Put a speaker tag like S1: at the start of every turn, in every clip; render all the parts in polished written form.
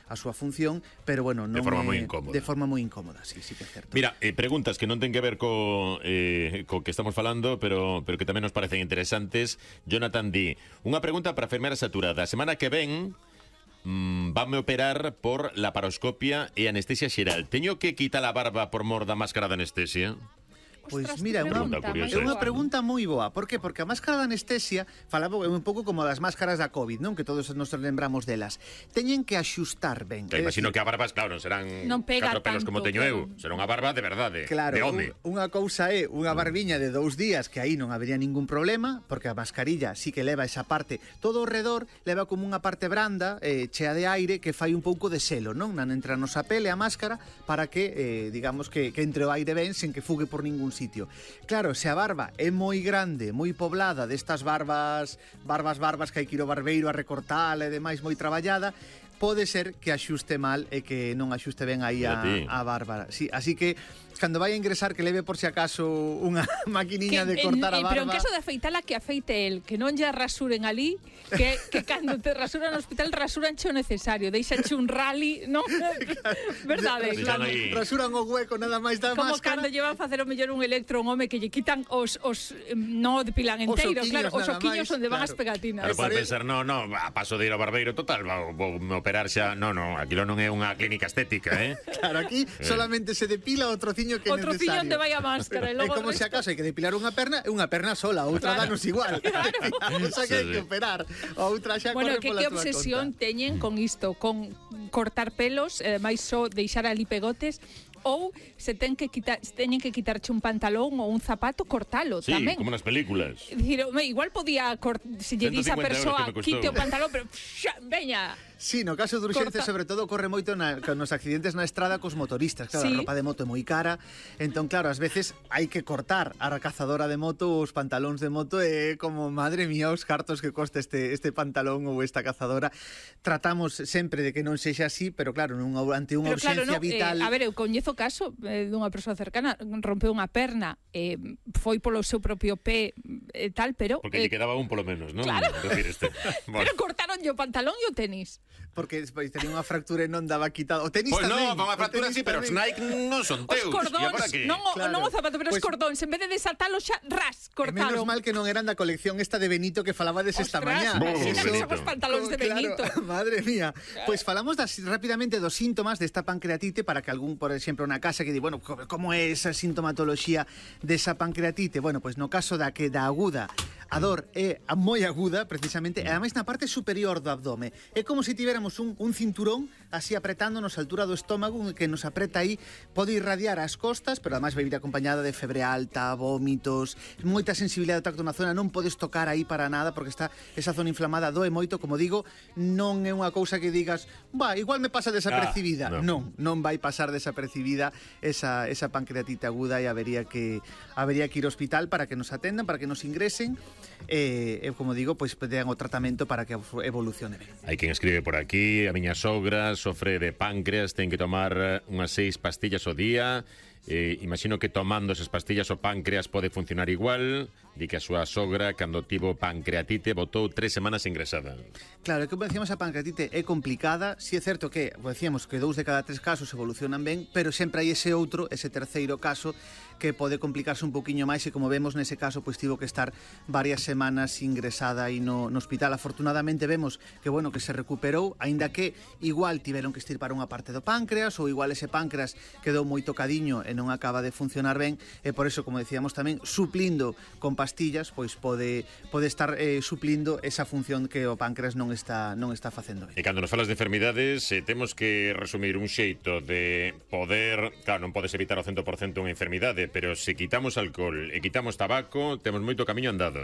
S1: a súa función, pero bueno, non
S2: de forma moi incómoda.
S1: De forma moi incómoda, sí que é certo.
S2: Mira, preguntas que non ten que ver co que estamos falando, pero que tamén nos parecen interesantes. Jonathan di, unha pregunta para a enfermera saturada. A semana que ven vanme operar por laparoscopia e anestesia xeral. Teño que quitar a barba por mor da máscara de anestesia?
S1: Pois mira, é unha pregunta moi boa. Por que? Porque a máscara de anestesia falaba un pouco como das máscaras da COVID, non? Que todos nos lembramos delas. Teñen que axustar ben.
S2: Imagino que a barbas, claro, non serán 4 pelos como teño eu. Será unha barba de verdade,
S1: claro,
S2: de home.
S1: Unha cousa é unha barbiña de 2 días que aí non habería ningún problema, porque a mascarilla sí que leva esa parte. Todo ao redor leva como unha parte branda, chea de aire, que fai un pouco de selo, non? Entra a nosa pele a máscara para que, digamos, que entre o aire ben sen que fugue por ningún sitio. Claro, se a barba é moi grande, moi poblada, destas barbas que hai que ir ao barbeiro a recortar e demais, moi traballada, pode ser que axuste mal e que non axuste ben aí a barba. Sí, así que cando vai a ingresar que leve por si acaso unha maquiniña de cortar a barba.
S3: Pero en caso de afeitala, que afeite el, que non lle rasuren ali, que cando te rasuran no hospital rasuran o necesario, deixanche un rally, non? Verdade?
S1: Rasuran o hueco nada máis da
S3: como
S1: máscara.
S3: Como cando llevan facer o mellor un electro un home que lle quitan os non depilan enteiro, claro, os oquiños onde van as pegatinas.
S2: Pero pode pensar, no, a paso de ir ao barbeiro, total, vou me operar xa, no, aquilo non é unha clínica estética,
S1: Claro, aquí solamente se depila o trociño que é necesario.
S3: O trociño onde vai a máscara.
S1: É como se acaso hai que depilar unha perna, é unha perna sola, outra danos igual. Claro. Xa que hai que operar. Outra xa corre pola tua conta.
S3: Que obsesión teñen con isto, con cortar pelos, máis só deixar ali pegotes, ou se teñen que quitarche un pantalón ou un zapato, cortalo tamén.
S2: Sí, como nas películas.
S3: Dicir, igual podía, se lle dís a persoa, quite o pantalón, pero veña.
S1: Sí, no caso de urxencia, sobre todo, corre moito nos accidentes na estrada cos motoristas. Claro, a roupa de moto é moi cara, entón, claro, ás veces hai que cortar a cazadora de moto, os pantalóns de moto, e como, madre mía, os cartos que costa este pantalón ou esta cazadora. Tratamos sempre de que non sexa así, pero claro, ante unha urxencia vital...
S3: A ver, eu coñezo o caso dunha persoa cercana, rompeu unha perna, foi polo seu propio pé e tal, pero...
S2: Porque lle quedaba un polo menos, non?
S3: Claro.
S2: Bueno.
S3: Pero cortaronlle o pantalón e o tenis.
S1: Porque despois tenía unha fractura e non daba quitado. O tenis
S2: tamén.
S1: Pois
S2: non, unha fractura sí, pero os Nike non son teus.
S3: Os cordóns, non o zapato, pero os cordóns, en vez de desatalo xa, cortaron.
S1: Menos mal que non eran da colección esta de Benito que falabades esta mañá.
S3: Son os pantalóns de Benito.
S1: Madre mía. Pois falamos rapidamente dos síntomas desta pancreatite para que algún, por exemplo, na casa que di, bueno, como é esa sintomatoloxía desa pancreatite? Bueno, pois no caso da aguda, a dor é moi aguda, precisamente, e ademais na parte superior do abdome. É como se tiveramos un cinturón así apretándonos a altura do estómago, que nos apreta aí, pode irradiar as costas, pero ademais vai vir acompañada de febre alta, vómitos, moita sensibilidade do tacto na zona, non podes tocar aí para nada porque está esa zona inflamada, doe moito, como digo, non é unha cousa que digas, igual me pasa desapercibida. Non vai pasar desapercibida esa pancreatite aguda e habería que ir ao hospital para que nos atendan, para que nos ingresen e como digo, pois pedan o tratamento para que evolucione ben.
S2: Hai quen escribe por aquí, a miña sogra sofre de páncreas, ten que tomar unhas 6 pastillas ao día. Imagino que tomando esas pastillas o páncreas pode funcionar igual. Di que a súa sogra, cando tivo pancreatite, botou 3 semanas ingresada.
S1: Claro, como decíamos, a pancreatite é complicada. Si é certo que, decíamos, que 2 de cada 3 casos evolucionan ben, pero sempre hai ese terceiro caso que pode complicarse un poquinho máis e, como vemos nese caso, pois tivo que estar varias semanas ingresada aí no hospital. Afortunadamente vemos que, bueno, que se recuperou, aínda que igual tiveron que estirpar unha parte do páncreas ou igual ese páncreas quedou moi tocadiño e non acaba de funcionar ben, e por eso, como decíamos tamén, suplindo con pastillas, pois pode estar suplindo esa función que o páncreas non está facendo ben.
S2: E cando nos falas de enfermidades, temos que resumir un xeito de poder, claro, non podes evitar o 100% unha enfermidade, pero se quitamos alcohol e quitamos tabaco, temos moito camiño andado,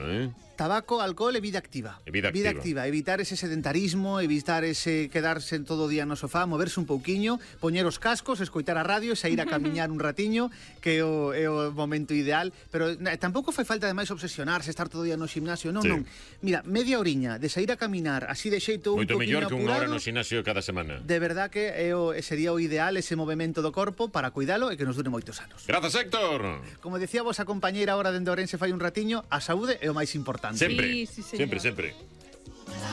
S1: Tabaco, alcohol e vida activa. Vida activa, evitar ese sedentarismo, evitar ese quedarse todo o día no sofá, moverse un pouquiño, poñer os cascos, escoitar a radio, sair a camiñar un ratiño, que é o momento ideal, pero tampouco fai falta ademais obsesionarse, estar todo o día no gimnasio, non. Mira, media horiña de sair a caminar así de xeito un poquinho apurado. Moito mellor que unha hora
S2: no gimnasio cada semana.
S1: De verdad que sería o ideal ese movimento do corpo para cuidalo e que nos dure moitos anos.
S2: Grazas, Héctor.
S1: Como decía vos a compañeira ahora dende Ourense fai un ratiño, a saúde é o máis importante.
S2: Sempre, sempre.